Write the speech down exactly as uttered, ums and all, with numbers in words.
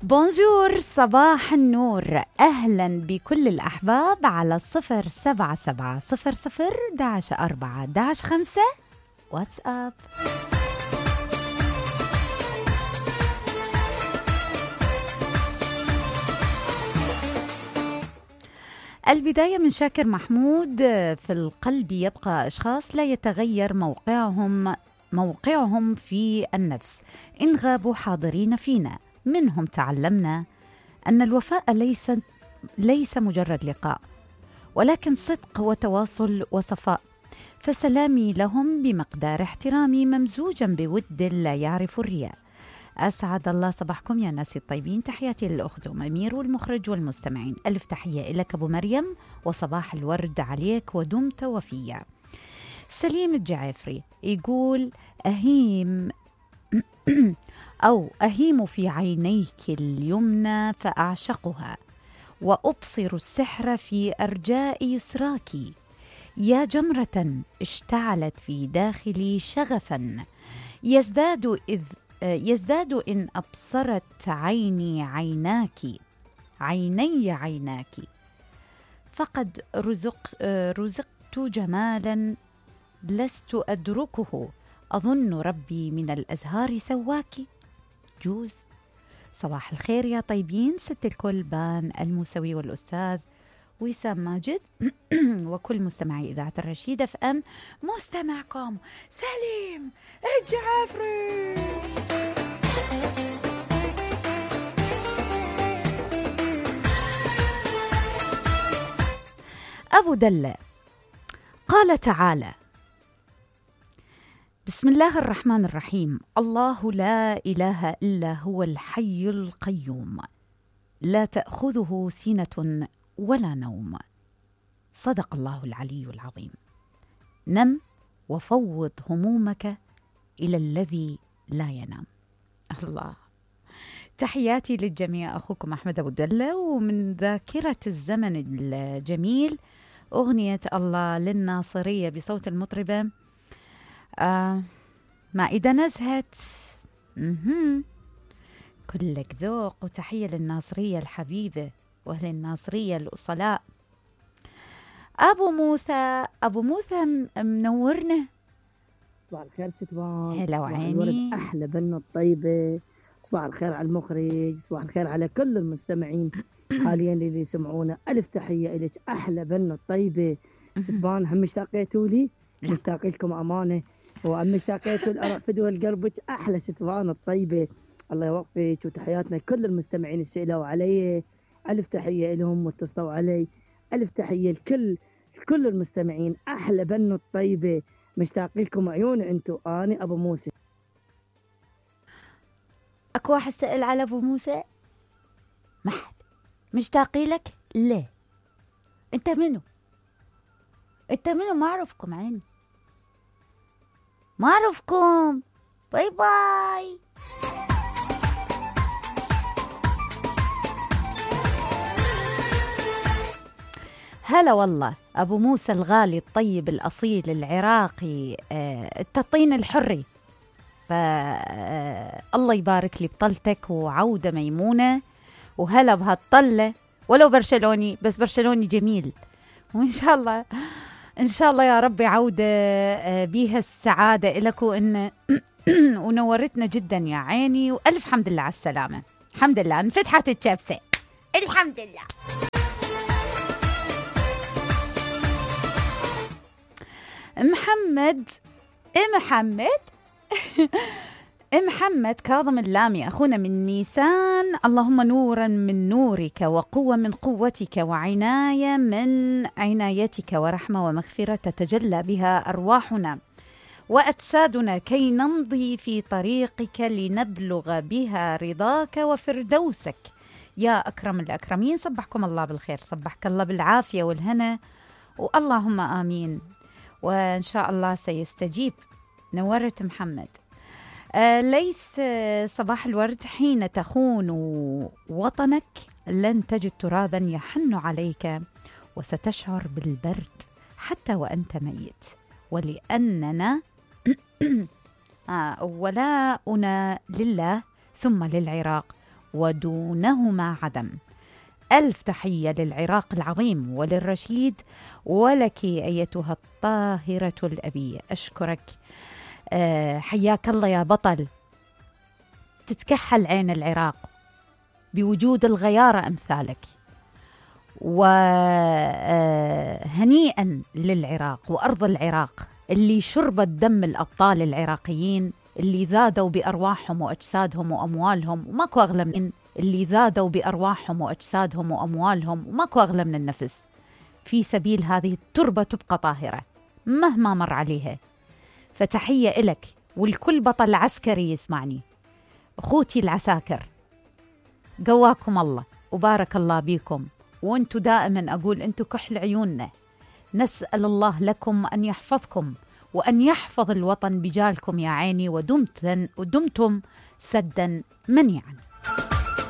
بونجور، صباح النور، أهلا بكل الأحباب على صفر سبعة سبعة صفر صفر داش أربعة داش خمسة واتس أب. البداية من شاكر محمود. في القلب يبقى أشخاص لا يتغير موقعهم موقعهم في النفس إن غابوا حاضرين فينا. منهم تعلمنا أن الوفاء ليس ليس مجرد لقاء، ولكن صدق وتواصل وصفاء. فسلامي لهم بمقدار احترامي ممزوجا بود لا يعرف الرياء. أسعد الله صباحكم يا ناس الطيبين. تحياتي للأخت أم أمير والمخرج والمستمعين. ألف تحية لك أبو مريم، وصباح الورد عليك ودمت وفيا. سليم الجعافري يقول أهيم أو أهيم في عينيك اليمنى فأعشقها، وأبصر السحر في أرجاء يسراك. يا جمرة اشتعلت في داخلي شغفا، يزداد إذ يزداد إن أبصرت عيني عيناك عيني عيناك. فقد رزق رزقت جمالا لست أدركه، أظن ربي من الأزهار سواك. جوز. صباح الخير يا طيبين، ست الكل بان الموسوي والأستاذ وسام ماجد وكل مستمعي إذاعة الرشيدة اف ام. مستمعكم سليم الجعافري. أبو دلة قال تعالى: بسم الله الرحمن الرحيم، الله لا إله إلا هو الحي القيوم، لا تأخذه سنة ولا نوم. صدق الله العلي العظيم. نم وفوض همومك إلى الذي لا ينام. الله. تحياتي للجميع، أخوكم أحمد أبو دلة. ومن ذاكرة الزمن الجميل أغنية الله للناصرية بصوت المطربة آه ما إذا نزهت. مهم. كلك ذوق. وتحية للناصرية الحبيبة وأهل الناصرية الأصلاء. أبو موسى أبو موسى منورنا. صباح الخير ستوان. هلا وعيني. أحلى بنة الطيبة. صباح الخير على المخرج، صباح الخير على كل المستمعين حاليا اللي يسمعونا. ألف تحية إليك أحلى بنة الطيبة ستوان. هم اشتاقيتوا لي؟ مشتاق لكم أمانة. وأم مشتاقيتوا الأرفد والقربج. أحلى ستوان الطيبة، الله يوفقك. وتحياتنا كل المستمعين اللي سئلوا علي، ألف تحية لهم واتصلوا علي. ألف تحية لكل كل المستمعين. أحلى بنو الطيبة، مشتاق لكم عيون أنتو. أنا أبو موسى. أكو واحد سأل على أبو موسى؟ ما حد مشتاقي لك؟ ليه؟ أنت منو؟ أنت منو؟ ما أعرفكم عيني، ما أعرفكم. باي باي. هلا والله أبو موسى الغالي الطيب الأصيل العراقي، آه التطين الحري. فالله آه يبارك لي بطلتك وعودة ميمونة. وهلا بهالطلة، ولو برشلوني بس برشلوني جميل. وإن شاء الله إن شاء الله يا ربي عودة آه بيها السعادة إلك. وإن ونورتنا جدا يا عيني. وألف حمد لله على السلامة. الحمد لله انفتحت الشبسة. الحمد لله. محمد محمد محمد كاظم اللامي أخونا من نيسان. اللهم نورا من نورك، وقوة من قوتك، وعناية من عنايتك، ورحمة ومغفرة تتجلى بها أرواحنا وأجسادنا كي نمضي في طريقك لنبلغ بها رضاك وفردوسك يا أكرم الأكرمين. صبحكم الله بالخير، صبحك الله بالعافية والهنا، واللهم آمين. وإن شاء الله سيستجيب. نورت محمد. آه ليث آه صباح الورد. حين تخون وطنك لن تجد ترابا يحن عليك، وستشعر بالبرد حتى وأنت ميت. ولأننا آه ولاؤنا لله ثم للعراق ودونهما عدم. ألف تحية للعراق العظيم وللرشيد، ولك أيتها الطاهرة الأبية. أشكرك، أه حياك الله يا بطل. تتكحل عين العراق بوجود الغيارة أمثالك، وهنيئا للعراق وأرض العراق اللي شربت دم الأبطال العراقيين اللي ذادوا بأرواحهم وأجسادهم وأموالهم، وماكو أغلى من اللي ذادوا بأرواحهم وأجسادهم وأموالهم وماكو أغلى من النفس في سبيل هذه التربة تبقى طاهرة مهما مر عليها. فتحية إلك والكل بطل عسكري يسمعني. أخوتي العساكر، قواكم الله وبارك الله بيكم، وانتو دائما أقول انتو كحل عيوننا. نسأل الله لكم أن يحفظكم وأن يحفظ الوطن بجالكم يا عيني، ودمتم, ودمتم سدا منيعا.